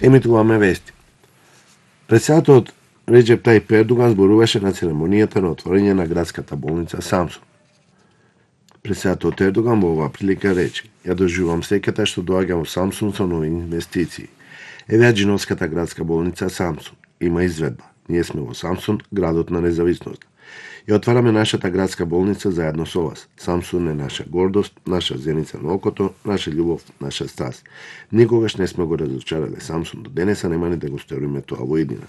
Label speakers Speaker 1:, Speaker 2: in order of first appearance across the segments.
Speaker 1: Емитуваме вести. Председателот Реџеп Тајип Ердоган зборуваше на церемонијата на отворање на градската болница Самсун. Председателот Ердоган во оваа прилика рече: "Ја доживувам среќата што доаѓа во Самсун со нови инвестиции. Еве Аџиновската градска болница Самсун има изведба. Ние сме во Самсун, градот на независноста. Ја отвараме нашата градска болница заедно со вас. Самсун е наша гордост, наша зеница на окото, наша љубов, наша страст. Никогаш не сме го разочарале Самсун до денеса, нема ни да го сториме тоа во иднина.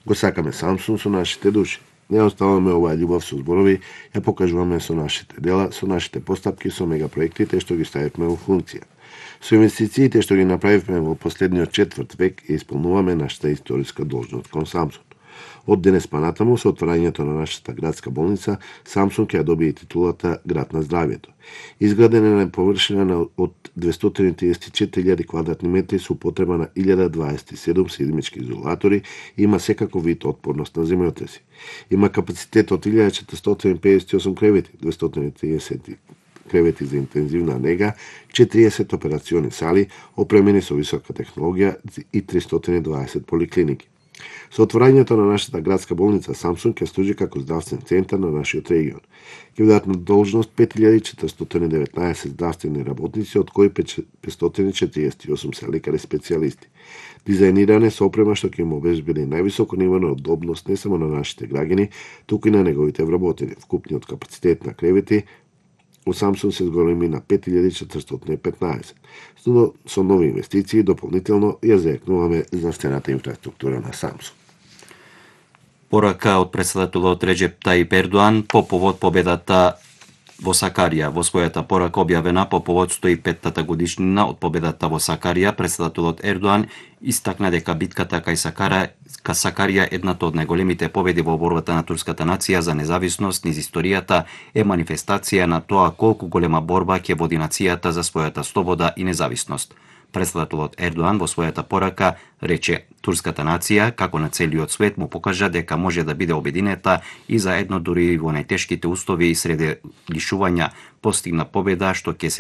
Speaker 1: Го сакаме Самсун со нашите души. Не оставаме оваа љубов со зборови, ја покажуваме со нашите дела, со нашите постапки, со мегапроектите што ги ставивме во функција. Со инвестициите што ги направивме во последниот четврт век и исполнуваме нашата историска должност кон Самсун. Од денес па натаму, со отворањето на нашата градска болница, Самсун ќе ја добие титулата Град на здравието. Изградена е на површина од 234.000 квадратни метри со употреба на 1027 сеизмички изолатори и има секаков вид отпорност на земјотреси. Има капацитет од 1458 кревети, 230 кревети за интензивна нега, 40 операциони сали, опремени со висока технологија и 320 поликлиники. Со отворањето на нашата градска болница Самсун ќе служи како здравствен центар на нашиот регион. Ќе бидат на должност 5419 здравствени работници, од кои 548 се лекари специјалисти. Дизајниране со опрема што ќе им обезбеди највисоко ниво на удобност не само на нашите граѓани, туку и на неговите вработени. Вкупниот капацитет на кревети во Самсун се зголеми на 5415. Со нови инвестиции дополнително ја зајакнуваме здравствената инфраструктура на Самсун.
Speaker 2: Порака од председателот Реџеп Тајип Ердоган по повод победата во Сакарија. Во својата порака објавена по повод 105-та годишнина од победата во Сакарија, председателот Ердоган истакна дека битката кај Сакарија, едната од најголемите победи во борбата на турската нација за независност низ историјата, е манифестација на тоа колку голема борба ќе води нацијата за својата слобода и независност. Председателот Ердоган во својата порака рече: турската нација, како на целиот свет, му покажа дека може да биде обединета и заедно дури во најтешките услови и среде лишувања постигна победа што ќе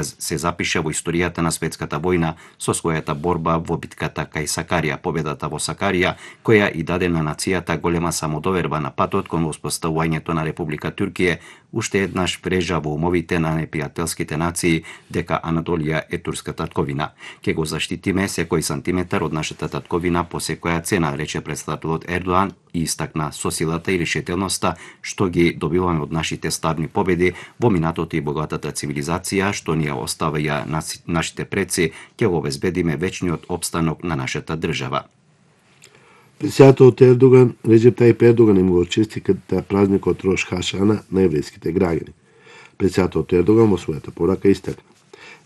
Speaker 2: се запише во историјата на светската војна со својата борба во битката кај Сакарија. Победата во Сакарија, која и даде на нацијата голема самодоверба на патот кон воспоставувањето на Република Туркија, уште еднаш врежа во умовите на непријателските нации дека Анатолија е турска татковина. Ке го заштитиме секој сантиметар од нашата татковина по секоја цена, рече председателот Ердоган и истакна со силата и решителноста што ги добиваме од нашите славни победи во минатото и богатата цивилизација што ни ја оставија нашите предци, ќе го обезбедиме вечниот опстанок на нашата држава.
Speaker 1: Председателот Ердоган, Реџеп Тајип Ердоган, им го честита празникот Рош Хашана на еврејските граѓани. Председателот Ердоган во својата порака истакна: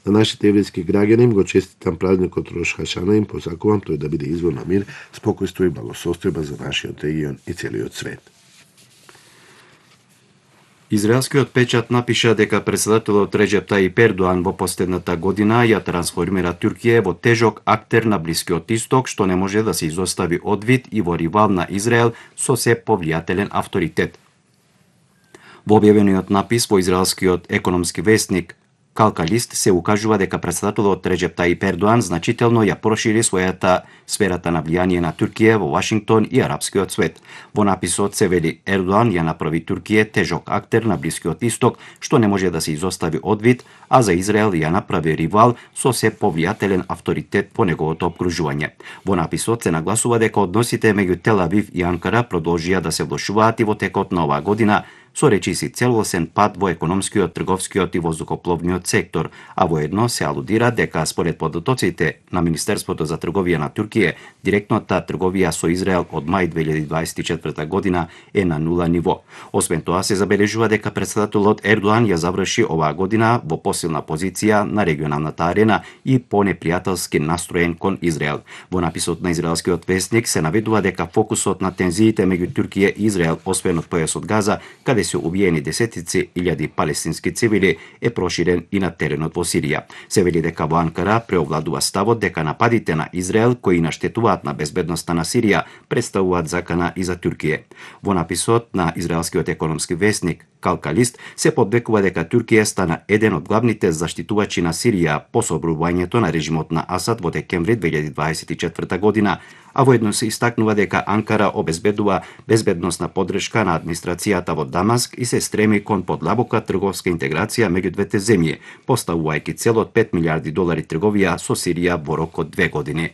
Speaker 1: на нашите еврејски граѓани им го честитам празникот Рош Хашана, им посакувам тој да биде извор на мир, спокојство и благосостојба за нашиот регион и целиот свет.
Speaker 2: Израелскиот печат напиша дека председателот Реџеп Тајип Ердоган во последната година ја трансформира Туркија во тежок актер на Блискиот Исток, што не може да се изостави од вид и во ривал на Израел со се повлијателен авторитет. Во објавениот напис во израелскиот економски весник Калкалист се укажува дека председателот Реџеп Тајип Ердоган значително ја прошири својата сферата на влијание на Туркија во Вашингтон и арапскиот свет. Во написот се вели: Ердоган ја направи Туркија тежок актер на Блискиот Исток, што не може да се изостави од вид, а за Израел ја направи ривал со се повлијателен авторитет по неговото обкружување. Во написот се нагласува дека односите меѓу Тел Авив и Анкара продолжија да се влошуваат и во текот на оваа година, со речиси целосен пат во економскиот, трговскиот и воздухопловниот сектор, а воедно се алудира дека според податоците на Министерството за трговија на Туркија, директната трговија со Израел од мај 2024 година е на нула ниво. Освен тоа се забележува дека председателот Ердоган ја заврши оваа година во посилна позиција на регионалната арена и понепријателски настроен кон Израел. Во написот на израелскиот весник се наведува дека фокусот на тензиите меѓу Туркија и Израел, освен од појасот Газа, каде се убиени десетици илјади палестински цивили, е проширен и на теренот во Сирија. Се вели дека во Анкара преовладува ставот дека нападите на Израел кои наштетуваат на безбедноста на Сирија представуваат закана и за Туркија. Во написот на израелскиот економски весник Калкалист се подвекува дека Туркија стана еден од главните заштитувачи на Сирија по собрувањето на режимот на Асад во декември 2024 година, а воедно се истакнува дека Анкара обезбедува безбедносна поддршка на администрацијата во Дамаск и се стреми кон подлабока трговска интеграција меѓу двете земји, поставувајќи цел од $5 милиарди трговија со Сирија во рок од 2 години.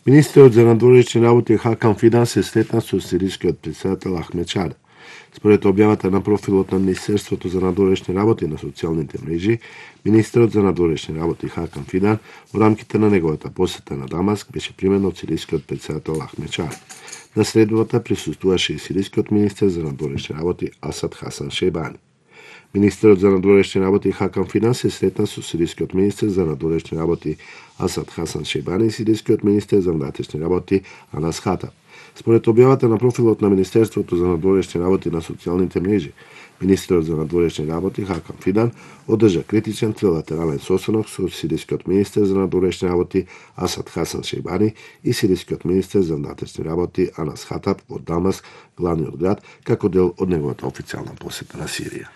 Speaker 1: Министерот за надворешни работи Хакан Фидан се сретна со сирискиот претседател Ахмед Шара. Според објавата на профилот на Министерството за надворешни работи на социјалните мрежи, министерот за надворешни работи Хакан Фидан во рамките на неговата посета на Дамаск беше примен од сирискиот претседател Ахмед Шара. На средбата присуствуваше и сирискиот министер за надворешни работи Асад Хасан Шейбани. Министерот за надворешни работи Хакан Фидан се сретна со сирискиот министер за надворешни работи Асад Хасан Шейбани и сирискиот министер за внатрешни работи Анас Хатаб. Според објавата на профилот на Министерството за надворешни работи на социјалните мрежи, министерот за надворешни работи Хакан Фидан одржа критичен трилатерален состанок со сирискиот министер за надворешни работи Асад Хасан Шейбани и сирискиот министер за внатрешни работи Анас Хатаб во Дамаск, главниот град, како дел од неговата официјална посета на Сирија.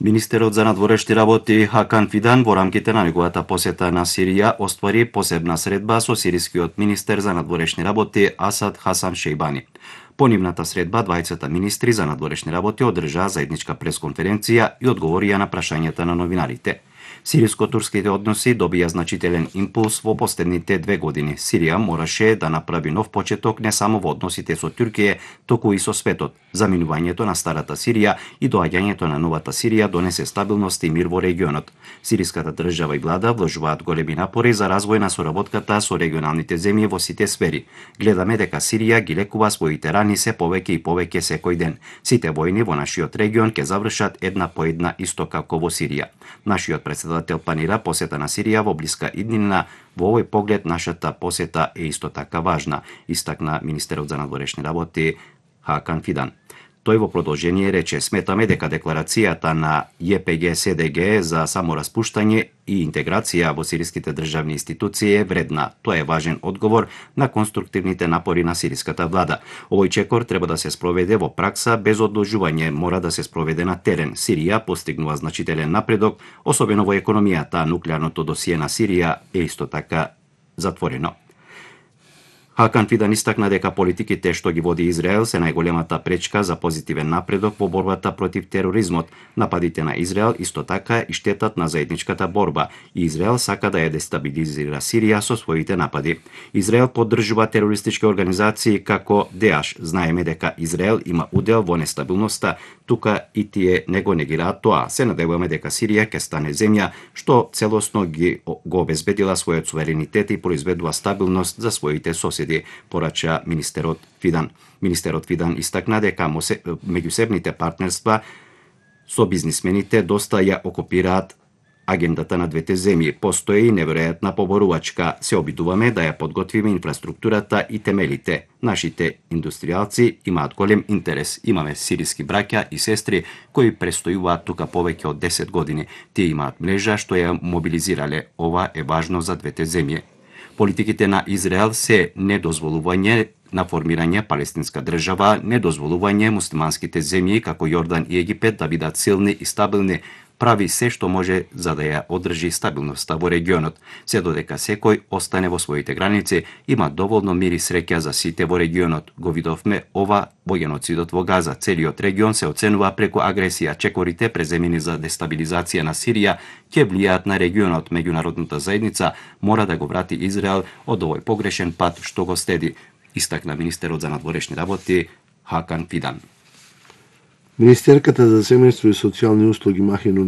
Speaker 2: Министерот за надворешни работи Хакан Фидан во рамките на неговата посета на Сирија оствари посебна средба со сирискиот министер за надворешни работи Асад Хасан Шейбани. По нивната средба, двајцата министри за надворешни работи одржаа заедничка пресконференција и одговорија на прашањата на новинарите. Сириско-турските односи добија значителен импулс во последните 2 години. Сирија мораше да направи нов почеток не само во односите со Туркија, туку и со светот. Заминувањето на старата Сирија и доаѓањето на новата Сирија донесе стабилност и мир во регионот. Сириската држава и влада вложуваат големи напори за развој на соработката со регионалните земји во сите сфери. Гледаме дека Сирија ги лекува своите рани се повеќе и повеќе секој ден. Сите војни во нашиот регион ќе завршат една по една исто како во Сирија. Нашиот председател планира посета на Сирија во блиска иднина. Во овој поглед нашата посета е исто така важна, истакна министерот за надворешни работи Хакан Фидан. Тој во продолжение рече: сметаме дека декларацијата на ЈПГ-СДГ за самораспуштање и интеграција во сириските државни институции е вредна. Тоа е важен одговор на конструктивните напори на сириската влада. Овој чекор треба да се спроведе во пракса без одложување, мора да се спроведе на терен. Сирија постигнува значителен напредок, особено во економијата. Нуклеарното досие на Сирија е исто така затворено. Хакан Фидан истакна дека политиките што ги води Израел се најголемата пречка за позитивен напредок во борбата против тероризмот. Нападите на Израел исто така и штетат на заедничката борба и Израел сака да ја дестабилизира Сирија со своите напади. Израел поддржува терористички организации како ДАЕШ. Знаеме дека Израел има удел во нестабилноста, тука и тие не го негираат тоа. Се надеваме дека Сирија ќе стане земја што целосно го обезбедила својот суверенитет и произведува стабилност за своите соседи, порача министерот Фидан. Министерот Фидан истакна дека меѓусебните партнерства со бизнисмените доста ја окупираат агендата на двете земји. Постои неверојатна поборувачка. Се обидуваме да ја подготвиме инфраструктурата и темелите. Нашите индустријалци имаат голем интерес. Имаме сириски браќа и сестри кои престојуваат тука повеќе од 10 години. Тие имаат мрежа што ја мобилизирале. Ова е важно за двете земји. Политиките на Израел се недозволување на формирање палестинска држава, недозволување муслиманските земји како Јордан и Египет да бидат силни и стабилни, прави се што може за да ја одржи стабилноста во регионот. Се додека секој остане во своите граници, има доволно мир и среќа за сите во регионот. Го видовме ова во геноцидот во Газа. Целиот регион се оценува преку агресија. Чекорите преземени за дестабилизација на Сирија ќе влијаат на регионот. Меѓународната заедница мора да го врати Израел од овој погрешен пат што го следи, истакна министерот за надворешни работи Хакан Фидан.
Speaker 1: Министерката за семејство и социјални услуги Махин